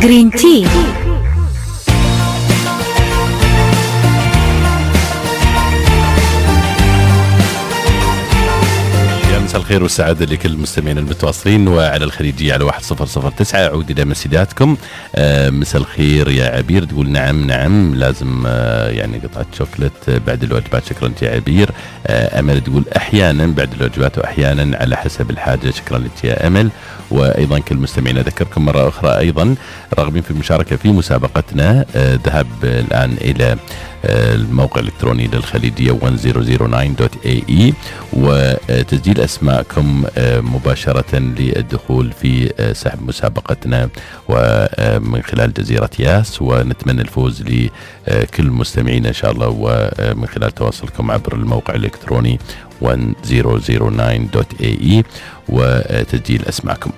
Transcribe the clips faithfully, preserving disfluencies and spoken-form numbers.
جرين تي. مساء الخير والسعادة لكل المستمعين المتواصلين وعلى الخليجية على واحد صفر صفر تسعة. أعود إلى مسيداتكم. آه مساء الخير يا عبير، تقول نعم نعم لازم آه يعني قطعة شوكولات بعد الوجبات. شكرا لك يا عبير. آه أمل تقول أحيانا بعد الوجبات وأحيانا على حسب الحاجة. شكرا لك يا أمل. وأيضا كل المستمعين أذكركم مرة أخرى أيضا راغبين في المشاركة في مسابقتنا. آه ذهب الآن إلى الموقع الإلكتروني للخليجية مية تسعة تسعة دوت إيه إي وتسجيل أسماءكم مباشرة للدخول في سحب مسابقتنا ومن خلال جزيرة ياس، ونتمنى الفوز لكل المستمعين إن شاء الله، ومن خلال تواصلكم عبر الموقع الإلكتروني مية تسعة تسعة دوت إيه إي وتسجيل أسماءكم.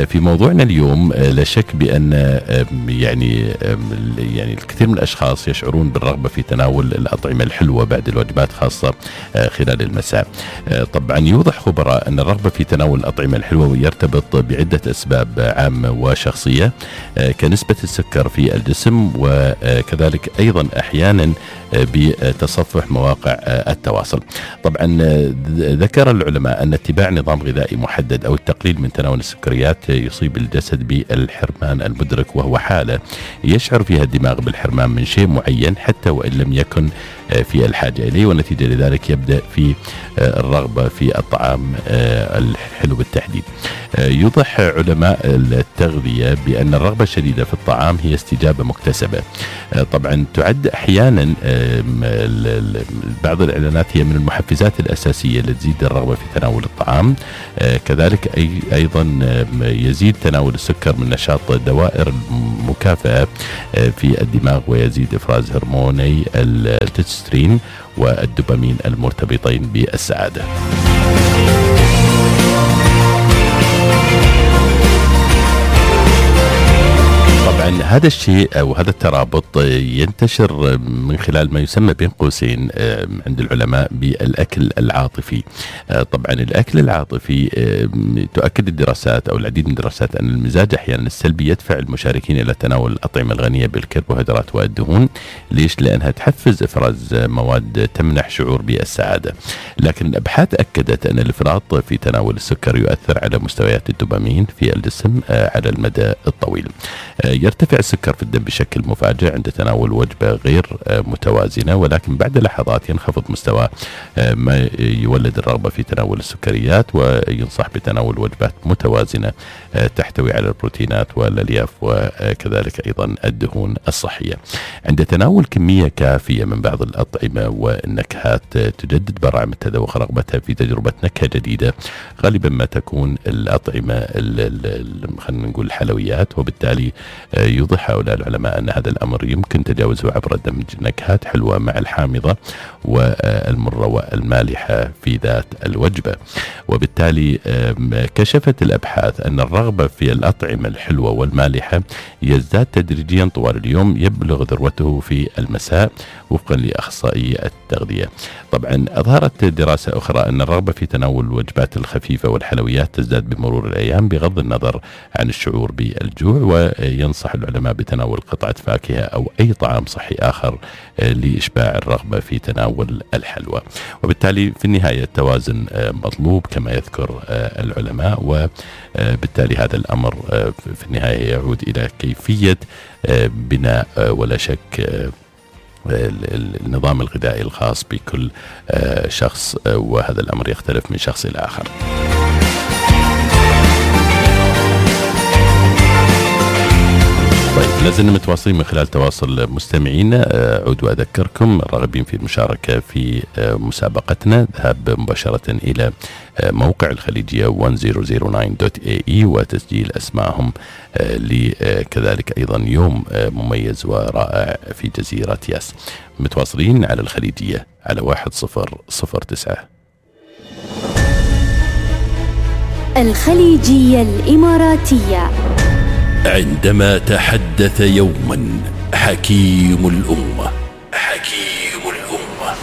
في موضوعنا اليوم لا شك بأن يعني يعني الكثير من الأشخاص يشعرون بالرغبة في تناول الأطعمة الحلوة بعد الوجبات خاصة خلال المساء. طبعا يوضح خبراء أن الرغبة في تناول الأطعمة الحلوة يرتبط بعدة أسباب عامة وشخصية كنسبة السكر في الجسم، وكذلك أيضا أحيانا بتصفح مواقع التواصل. طبعا ذكر العلماء أن اتباع نظام غذائي محدد أو التقليل من تناول السكريات يصيب الجسد بالحرمان المدرك، وهو حالة يشعر فيها الدماغ بالحرمان من شيء معين حتى وإن لم يكن في الحاجة إليه، ونتيجة لذلك يبدأ في الرغبة في الطعام الحلو بالتحديد. يوضح علماء التغذية بأن الرغبة الشديدة في الطعام هي استجابة مكتسبة. طبعا تعد أحيانا بعض الإعلانات هي من المحفزات الأساسية التي تزيد الرغبة في تناول الطعام. كذلك أي أيضا يزيد تناول السكر من نشاط دوائر المكافأة في الدماغ، ويزيد إفراز هرموني التستوستيرون والدوبامين المرتبطين بالسعادة. طبعا هذا الشيء أو هذا الترابط ينتشر من خلال ما يسمى بين قوسين عند العلماء بالأكل العاطفي. طبعا الأكل العاطفي تؤكد الدراسات أو العديد من الدراسات أن المزاج أحيانا السلبي يدفع المشاركين إلى تناول الأطعمة الغنية بالكربوهيدرات والدهون. ليش؟ لأنها تحفز إفراز مواد تمنح شعور بالسعادة. لكن الأبحاث أكدت أن الإفراط في تناول السكر يؤثر على مستويات الدوبامين في الجسم على المدى الطويل. يرتفع السكر في الدم بشكل مفاجئ عند تناول وجبة غير متوازنة، ولكن بعد لحظات ينخفض مستوى ما يولد الرغبة في تناول السكريات، وينصح بتناول وجبات متوازنة تحتوي على البروتينات والألياف وكذلك أيضا الدهون الصحية. عند تناول كمية كافية من بعض الأطعمة والنكهات تجدد براعم التذوق رغبتها في تجربة نكهة جديدة، غالبا ما تكون الأطعمة خلينا نقول الحلويات، وبالتالي يوضح هؤلاء العلماء أن هذا الأمر يمكن تجاوزه عبر دمج نكهات حلوة مع الحامضة والمرة والمالحة في ذات الوجبة. وبالتالي كشفت الأبحاث أن الرغبة في الأطعمة الحلوة والمالحة يزداد تدريجيا طوال اليوم، يبلغ ذروته في المساء وفقا لأخصائي التغذية. طبعا أظهرت دراسة أخرى أن الرغبة في تناول الوجبات الخفيفة والحلويات تزداد بمرور الأيام بغض النظر عن الشعور بالجوع، وينصح العلماء بتناول قطعة فاكهة أو أي طعام صحي آخر لإشباع الرغبة في تناول الحلوى. وبالتالي في النهاية التوازن مطلوب كما يذكر العلماء، وبالتالي هذا الأمر في النهاية يعود إلى كيفية بناء ولا شك النظام الغذائي الخاص بكل شخص، وهذا الأمر يختلف من شخص إلى آخر. طيب لازلنا متواصلين من خلال تواصل مستمعينا. أعود وأذكركم الراغبين في المشاركة في مسابقتنا ذهاب مباشرة إلى موقع الخليجية مية تسعة تسعة دوت إيه إي وتسجيل أسمائهم لكذلك أيضا يوم مميز ورائع في جزيرة ياس. متواصلين على الخليجية على واحد صفر صفر تسعة. الخليجية الإماراتية. عندما تحدث يوما حكيم الأمة حكيم الأمة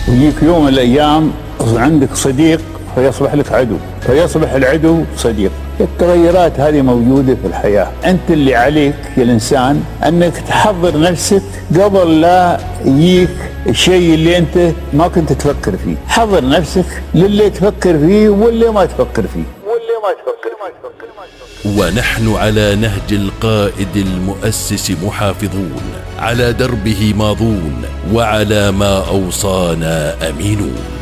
ويجيك يوم من الأيام عندك صديق فيصبح لك عدو، فيصبح العدو صديق، التغيرات هذه موجودة في الحياة. أنت اللي عليك يا الإنسان أنك تحضر نفسك قبل لا يجيك الشيء اللي أنت ما كنت تفكر فيه. حضر نفسك للي تفكر فيه واللي ما تفكر فيه واللي ما تفكر فيه. ونحن على نهج القائد المؤسس محافظون، على دربه ماضون، وعلى ما أوصانا أمينون.